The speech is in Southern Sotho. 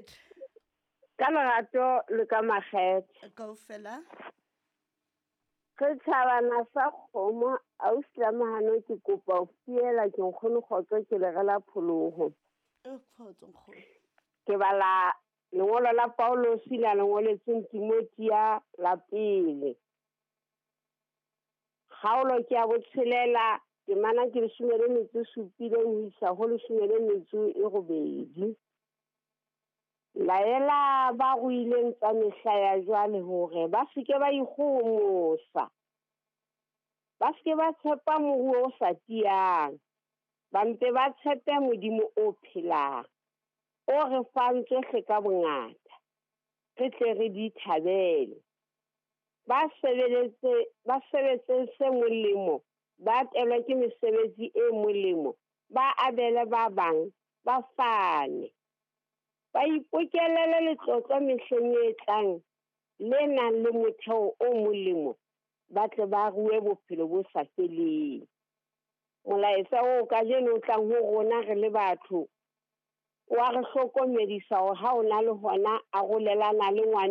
Dumela. Ka lerato le ka makgethe. Kaofela. Re tjhabana sa kgomo ausi la Mahano ke kopa ho fiela ke nkgono kgotso ke le rela pholoho. E kgotso nkgono. Ke bala lengolo la Paulosi la lengoletseng Timothea la pele. Kgaolo ke ya botshelela temana ke 17 ho isa ho 18. Laela ba ruileng tsa mehla ya jwale hore ba se ke ba ikgohomosa, ba se ke ba tshepa moruo o sa tiyang, ba mpe ba tshepe Modimo o phelang, o re fang tsohle ka bongata, re tle re di thabele. Ba sebetse se molemo, ba atelwe ke mesebetsi e molemo, ba abele ba bang, ba fane. Ba ipokelele letlotlo mehleng e tlang le nang le motheo o molemo, ba tle ba rue bophelo bo sa feleng. Molaetsa oo kajeno o tlang ho rona re le batho wa re hlokomedisa hore ha o na le hona arolelana le ngwana.